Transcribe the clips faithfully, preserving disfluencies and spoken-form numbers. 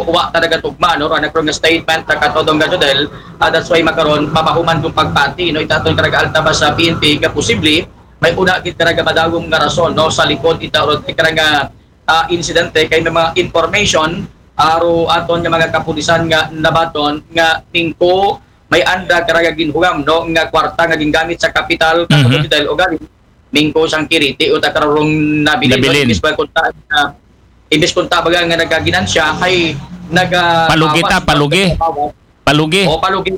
wa talaga tugma, no, raan karon nga statement ta katodong nga Jodel, ah, that's why makaron, papahuman kung pagpati, no, ita aton karaga Altabas sa P N P, nga posible, may una gid karaga madagom nga rason, no, sa likod ita ron karaga, ah, insidente, kay may mga information, aro aton nga mga kapulisan nga nabaton, nga mingko, may anda karaga ginhugam, no, nga kwarta nga gingamit sa kapital, Mhm. katodong Jodel, o gani, mingko sang kiriti, o ta karong nabilin, no, Nabilin. Imbis ba kunta, ah, imbis kunta baga nga nagaginansya, ay naga-, Palugi ta, bawas, palugi. Bawas. Palugi. O, palugi.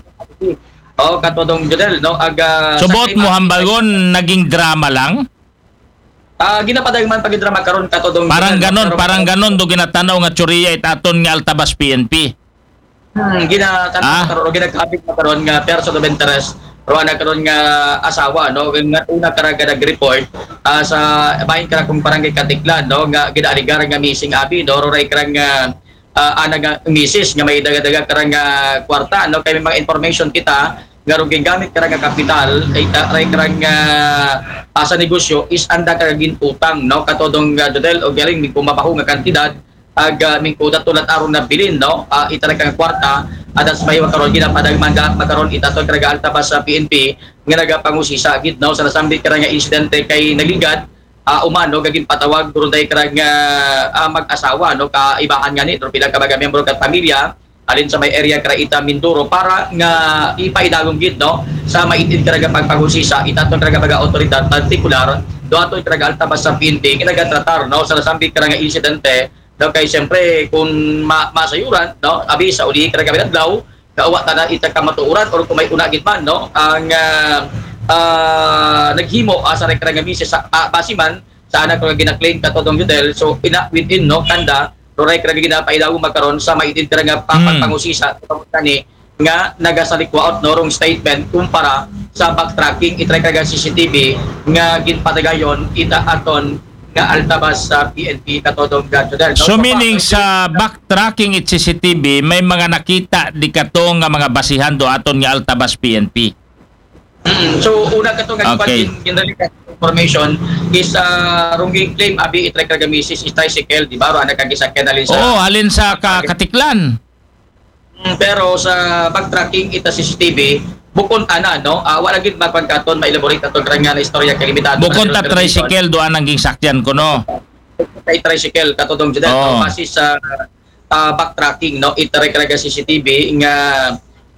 O, katodong Jodel, no? Aga, So, sa buot kay mo hambagon, naging drama lang? Ah, ginapadagman pag drama karon katodong Parang Jodel, no? Ganon, Pero parang ganon do ginatanaw nga tsuriya ita aton nga Altabas P N P. Hmm, ginatanaw Ah? karon, o ginakabig na karon nga person of interest, raan karon nga asawa, no? Nga una karaga nag-report, ah, sa bahin kara kung barangay Katiklan, no? Nga ginaaligar nga missing abi, no? Ruray karang, ah, ah, ana nga misis nga may daga-daga karang, ah, kwarta, no? Kay may mga information kita nga rong gingamit karang nga kapital, ay ta-, ray karang, ah, ah, sa negosyo is anda karang ginutang, no? Katodong, ah, Jodel, o galing, may kumabaho nga kantidad, ag, ah, mingkuda tulad aron nabilin, no? Ah, ita ra kang kwarta, adas may makaron ginapadagman da, makaron ita to karaga Altabas sa P N P, nga nagapangusisa gid, no? Sa nasambit karang nga insidente kay nagligad, ah, umano, gagin patawag, duron day karang, ah, ah, mag-asawa, no? Kaibahan nga ni, pero pila ka mga membro kat pamilya, alin sa may area kara ita Mindoro, para nga ipaidagom gid, no? Sa maitid karaga pagpangusisa, ita to karaga mga otoridad, partikular, do ato karaga Altabas sa P N P, nga nagatratar, no? Sa nasambit karang nga insidente, no? Kay siyempre, kung ma-, masayuran, no? Abi sa uli karaga adlaw, nga wa ta na ita kamatuoran, or kung may una gid man, no? Ang, ah, ah, naghimo, ah, sa rekara nga misis sa, ah, base man, sa anak ko nga gina-claim katodong Jodel, so, ina within, no? Kanda, ruray karaga ginapaidagom makaron sa maitid karaga pa-, Hmm. pagpangusisa, katong kani, nga nagasalikwaot, no, rong statement kumpara sa backtracking, itry karaga C C T V nga ginpatagayon ita aton nga Altabas sa P N P katodong Jodel, no? So, So, meaning pa- sa backtracking it C C T V, may mga nakita di kato nga mga basihan do aton nga Altabas P N P? Mm, so, una kato nga Okay. gin-, gin-, information is, ah, rong gin-claim abi itry karaga misis is tricycle, di ba? Ro, anak kang gisakyan alin sa Oo, alin sa ka-, Katiklan. Mm, pero sa backtracking ita C C T V, bukon ana, no? Ah, wala gid mapagkaton, ma-elaborate ato karang nga istorya kay limitado Bukon na ta information. Tricycle, doon ang ginsakyan ko, no? Kay tricycle, katodong Jodel, Oo. no? Base sa, ah, backtracking, no? Ita ray karaga C C T V nga,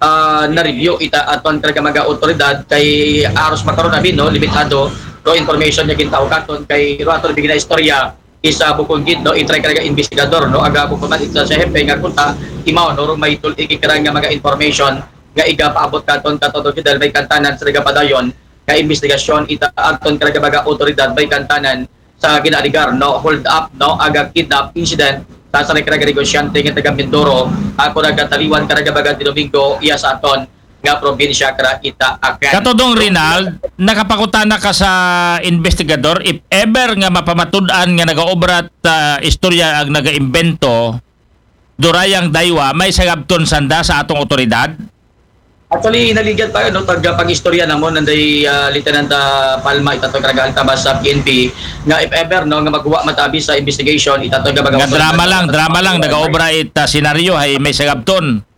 ah, na-review ita aton karaga mga otoridad kay aros makaron abi, no? Limitado, no? Information nga gintawag katon kay ro ato bigyan na istorya, isa bukon gid, no, itry karaga investigador, no, aga bukon man ita sa hepe nga kunta imaw, no, rong may tul-, ikikira nga mga information nga igapaabot katon katodong Jodel, may kantanan sa nagapadayon nga investigasyon ita aton karaga mga otoridad, may kantanan sa ginaaligar, no, hold up, no, aga kidnap incident sa sa karaga negosyante nga taga Mindoro, ako nagataliwan karaga mga Domingo, iya sa aton nga probinsya kara ita aken. Katodong Rinald, nakapakutana ka sa investigador, if ever nga mapamatud-an nga nagaobra ta istorya ang nagaimbento, durayang daywa, may sagabton sanda sa atong otoridad? Actually, naligad pa, no, tag pag-istorya namon, nanday, ah, Lieutenant, ah, Palma, ita to karaga Altabas sa P N P, nga if ever, no, nga magwa matabi sa investigation, ita to nga mga Nga drama lang, drama lang, nagaobra ita senaryo, hay may sagabton.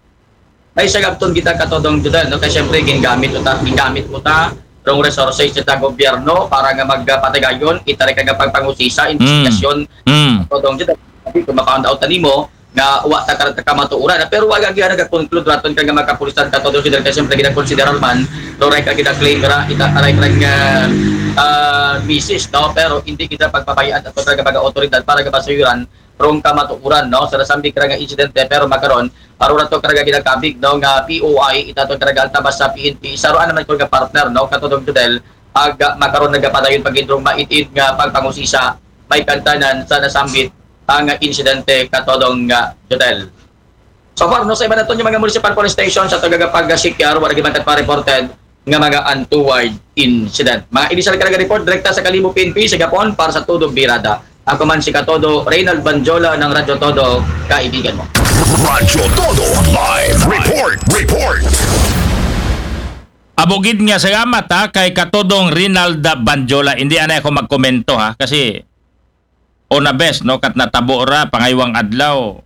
May sagabton kita katodong Jodel, no? Kay siyempre, gingamit uta, gingamit uta, rong resources sa gobyerno para nga magpatagayon, itari ka nga pagpangusisa, Mm. investigasyon, Mm. katodong Jodel. Sabi, kung ma-found out na nimo, nga wa ta karata kamatuoran, pero wa gagi nagakonclude raton ka nga makapulisan katodong Jodel, kay siyempre, ginakonsiderar man, no, right, ang gina-claim ra, ita, right, right, nga, ah, misis, no? Pero hindi kita pagpabayaan at mga, mga otoridad para nga masayuran, rong kamatuoran, no? Sa nasambit kara nga insidente, pero makaron, aro na to karaga ginakabig, no, nga P O I, ita to karaga Altabas sa P N P. Sa ruan naman ko nga partner, no, katodong Jodel, ag makaron nagapadayon pagindrong maitid nga pagpangusisa, may kantanan sa nasambit ang insidente katodong nga Jodel. So far, no, sa iba naton nga mga municipal police station sa tagaga pag-secure, wala gyud man kat pa-reported nga mga untoward incident. Mga initial karaga report, direkta sa Kalibo P N P, sa Gapon, para sa Todo Birada. Ako man si Katodo, Reynald Banjola ng Radyo Todo, kaibigan mo. Radyo Todo Live Report. Report. Abugid nga salamat, ha, kay Katodong Rinald Banjola. Hindi anay ako magkomento, ha, kasi una bes, no, kat natabo ra pangaywang adlaw.